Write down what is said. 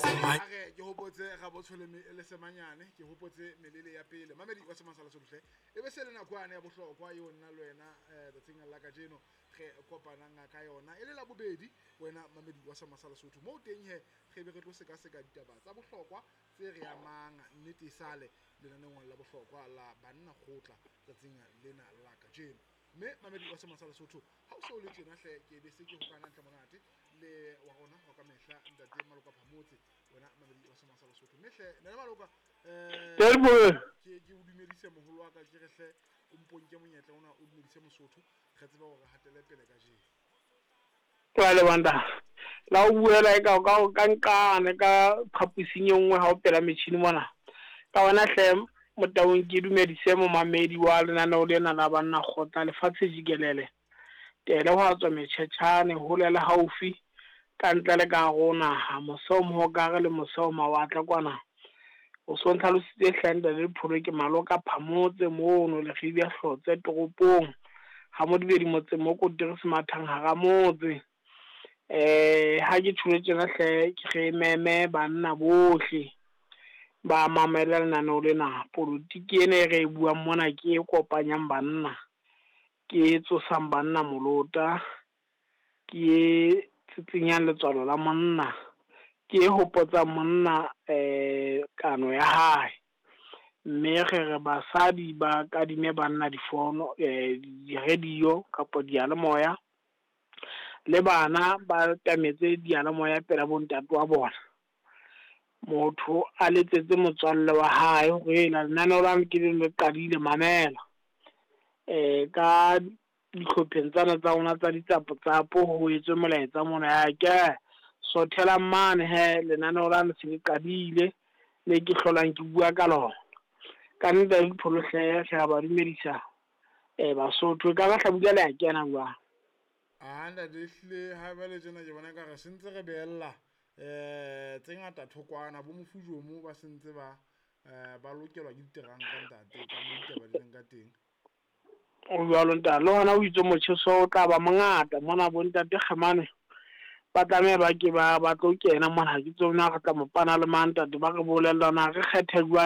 Are ke hopotse Rabotsho le Semanyane, ke hopotse melele ya pele. Mamedi wa Semasala Sohle, e be se le nako yane ya bohlokwa eo nna le wena tsatsing la kajeno re kopanang ka yona e le la bobedi. Wena mamedi wa Semasala Sotho, moo teng he re be re tlo sekaseka ditaba tsa bohlokwa tse re amang nnete sale lenaneong la bohlokwa la Banna Kgotla tsatsing lena la kajeno. Mme mamedi wa Semasala Sotho, ha o so le tjena hle, ke be se ke hokana ntle monate le wa rona wa ka mehla, ntate Maloka Phamotse. Wena mamedi wa Semasala Sotho, mme hle nna Maloka, ke o dumedise moholo wa ka, ke re hle o mponke monyetla ona o dumedise Mosotho, re tseba hore hatele pele kajeno. Jwale banda la o buela e ka ka nqane ka phaposing e nngwe ha o pela metjhini mona. Ka ona hle Motaung, ke dumedise momamedi wa lenaneo lena la Banna Kgotla lefatshe jikelele. Tele ho a tswa metjhetjhane hole le haufi, ka ntle le ka hare ho naha, mose o mohokare le mose o mawatle kwana. O so ntlhalositse hle ntate Dipholo, ke Maloka Phamotse mono Lekgibya Hlotse toropong, ha Modibedi motseng mo Kotere Semathang hara motse. Ha ke tjholo tjena hle, ke re meme banna bohle ba mamele lenaneo lena. Politiki ena e re e buang mona ke e kopanyang banna, ke e tsosang banna molota, ke e tsitsinyang letswalo la monna, ke e hopotsang monna kano ya hae. Mme re re basadi ba kadime banna difono, di-radio kapa diyalemoya, le bana ba tametse diyalemoya pela bontate wa bona. Motho a letsetse motswalle wa hae hore ela lenaneo la ke le qadile, mamela. Ka dihlopheng tsana tsa rona tsa ditsapo-tsapo ho etswe molaetsa mona ya ke sothelang mane he lenaneo la se le qadile le ke hlolang ke bua ka lona. Ka nnete Dipholo hle, re a ba dumedisa Basotho. E ka ba hlabula le a kena jwang? A ntate, ehlile ha jwale tjena ke bona ekare se ntse re behella tse ngata thokwana. Bo mofujomo ba sentse ba ba lokelwa ke diteranka ntate, ka mo ditaba di leng ka teng. O jwalo ntate, le hona o itse motjheso o tla ba mongata mona. Bo ntate Kgemane ba tlameha ba ke ba tlo kena mona. Ha ke tsebe na re tla mo pana le mang ntate, ba re bolella na re kgethe jwang.